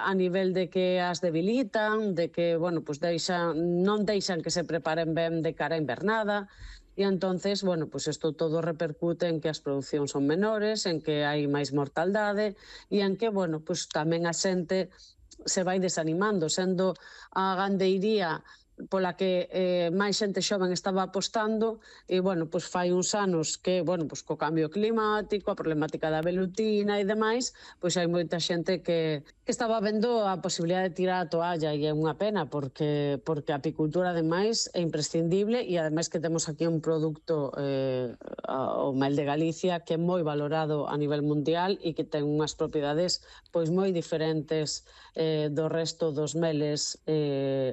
a nivel de que as debilitan, de que, bueno, pues non deixan que se preparen ben de cara a invernada, e entonces, bueno, pues isto todo repercute en que as producións son menores, en que hai máis mortaldade e en que, bueno, pues tamén a xente se vai desanimando, sendo a gandeiría pola que máis xente xoven estaba apostando e, bueno, pois fai uns anos que, bueno, pois co cambio climático, a problemática da velutina e demais, pois hai moita xente que estaba vendo a posibilidade de tirar a toalla e é unha pena porque a apicultura, ademais, é imprescindible e, ademais, que temos aquí un produto, o mel de Galicia, que é moi valorado a nivel mundial e que ten unhas propiedades pois moi diferentes do resto dos meles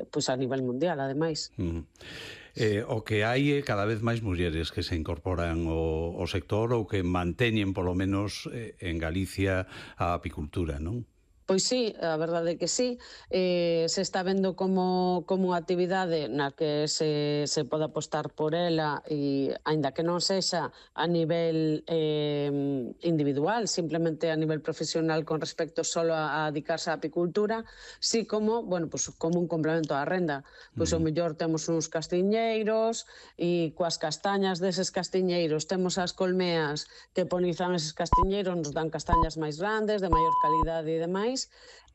pois a nivel mundial, ademais. O que hai é cada vez máis mulleres que se incorporan ao sector ou que manteñen, polo menos, en Galicia a apicultura, non? Pois sí, a verdade é que sí. Se está vendo como unha actividade na que se pode apostar por ela e, aínda que non sexa a nivel individual, simplemente a nivel profesional con respecto solo a dedicarse á apicultura, sí como, bueno, pues, como un complemento á renda. Pois o mellor temos uns castiñeiros e coas castañas deses castiñeiros temos as colmeas que polinizan eses castiñeiros, nos dan castañas máis grandes, de maior calidade e demais.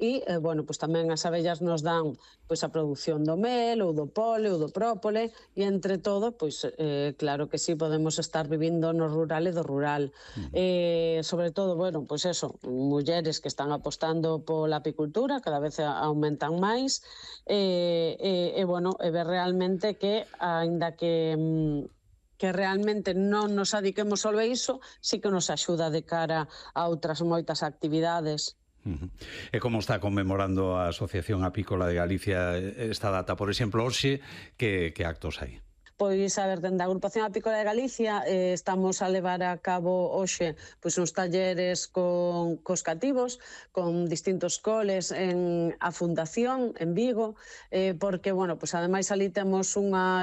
E, bueno, pois tamén as abellas nos dan pois a produción do mel ou do pole ou do própole e, entre todo, pois claro que sí, podemos estar vivindo no rural e do rural. Sobre todo, bueno, pois eso, mulleres que están apostando pola apicultura, cada vez aumentan máis bueno, e ver realmente que, aínda que realmente non nos adiquemos só a iso, sí que nos axuda de cara a outras moitas actividades. E como está conmemorando a Asociación Apícola de Galicia esta data? Por exemplo, hoxe, que actos hai? Pois, a ver, dende a Agrupación Apícola de Galicia estamos a levar a cabo hoxe pois uns talleres cos cativos, con distintos coles en a Fundación, en Vigo, porque, bueno, pois ademais ali temos unha